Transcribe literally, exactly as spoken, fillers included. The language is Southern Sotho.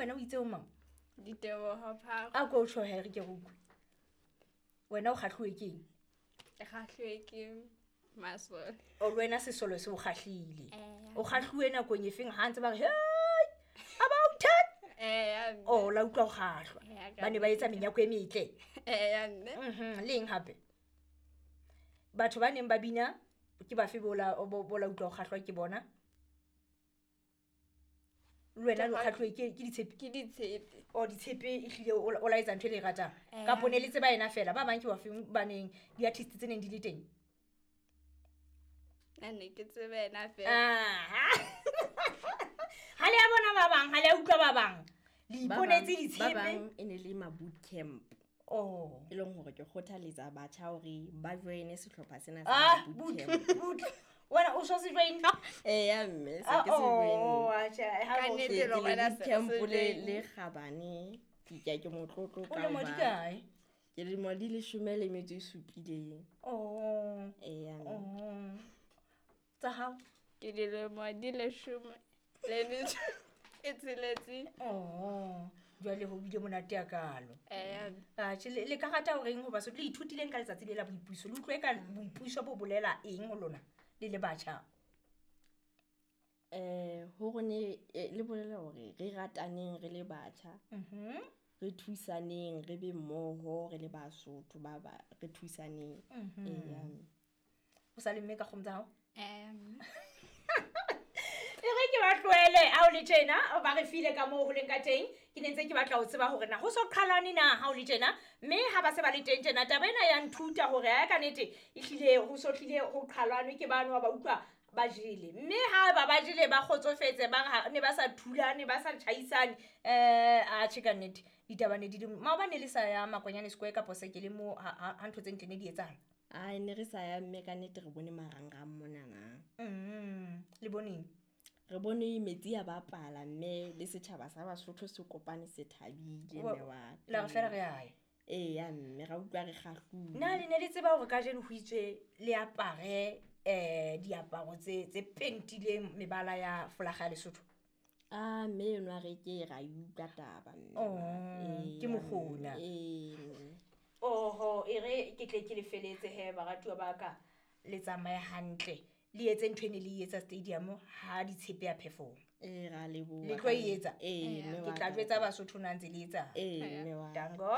wena o itse o mang? Diteboho Pharo. A ko tjho he re ke re utlwe. Wena o kgahluwe ke eng? Ke kgahluwe ke masole. O le wena sesolo se o kgahlile. Eh. O kgahluwe nakong e feng ha ntse ba re hey about ten? Eh, mme. O la utlwa o kgahlwa. Eh, ka Ba ne ba etsa menyako e metle. Eh, mme. Mhm, le eng hape? Batho ba neng ba bina ke bafe bola bo bola utlwa o kgahlwa ke bona? Le wena Ke o kga- kgahluwe ke ke ditshepe? Ke ditshepe. O ditshepe ehlile o o la etsa ntho e le e ratang. Eh. Kapo ne le tseba yena fela, ba bang ke bafeng ba neng di-artist tse neng di le teng? Nna ne ke tseba yena fela. Ah. Ha le a bona ba bang, ha le a utlwa ba bang. Le Ba iponetse bang- ditshepe. Ba bang e ne le ma boot camp. Oh. E leng hore ke kgothaletsa batjha hore ba join-e sehlopha sena sa Ah, boot boot, camp. boot. Wena o so se join? Eh, ya mme, se Ah, ke se join. oh, atjhe, ha Ka o nnete se- Ke le le wena boot se camp se le join. le kgabane. Ke ke ke motlotlo O ka lemo di hoba kae? Ke lemo di leshome le metso e supileng. Oh. Eh, ya mme. Oh. Tsa hao? Ke dilemo di leshome le metso e tsheletseng. Oh, jwale ho bile monate hakalo. Eh, mme. Atjhe, le le ka rata hore eng ho Basotho? Le ithutileng ka letsatsi le la boipuso? Le utlwe ka boipuso bo bolela eng ho lona le le batjha? Eh, ho rone, eh, le bolela hore re rataneng re le batjha. Mhm. Re thusaneng, re be mmoho, re le Basotho ba ba, re thusaneng. Mhm. Eh, ya mme. O sa le mme ka kgomo tsa hao? Eh, mme. E re ke ba tlohele ha o le tjena, ba re file ka moo ho leng ka teng. Ke ne ntse ke batla ho tseba hore na ho so qhalane na ha o le tjena, mme ha ba se ba le teng tjena, taba ena ya nthuta hore ha ka nnete ehlile ho so hlile ho qhalwane ke bano ba utlwa ba jele. Mme ha ba ba jele ba kgotsofetse, ba ha ne ba sa thulane, ba sa tjhaisane, eh, atjhe ka nnete ditaba ne di le maobane le sa ya Makwanyane Square kapo Sekele moo ha, ha, ha ntho tse ntle ne di etsahala. Ai, ne re sa ya mme ka nnete re bone marangrang monana. Mm, le boneng? Re bone metsi a bapala mme le setjhaba sa Basotho se kopane se thabile Wa- mme wa ka. La re fela re a ya. Ee, ya mme, ra utlwa re kgahluwe. Na le ne le tseba hore kajeno ho itswe le apare, eh, diaparo tse, tse pentileng mebala ya folaga ya Lesotho? Ah, mme enwa re ke ra e utlwa taba mme. Oh, Ee, ke mokgona. Ee, mme. Oho, e re ke tle ke le feletse he baratuwa ba ka, le tsamaye hantle. Le etse ntho e ne le e etsa stadium ha ditshepe ya perform. Ee, ra leboha. Le tlo e etsa? Ee, mme Ke wa tla ka. jwetsa Basotho na ntse le etsa. Ee, mme wa ka. Tango.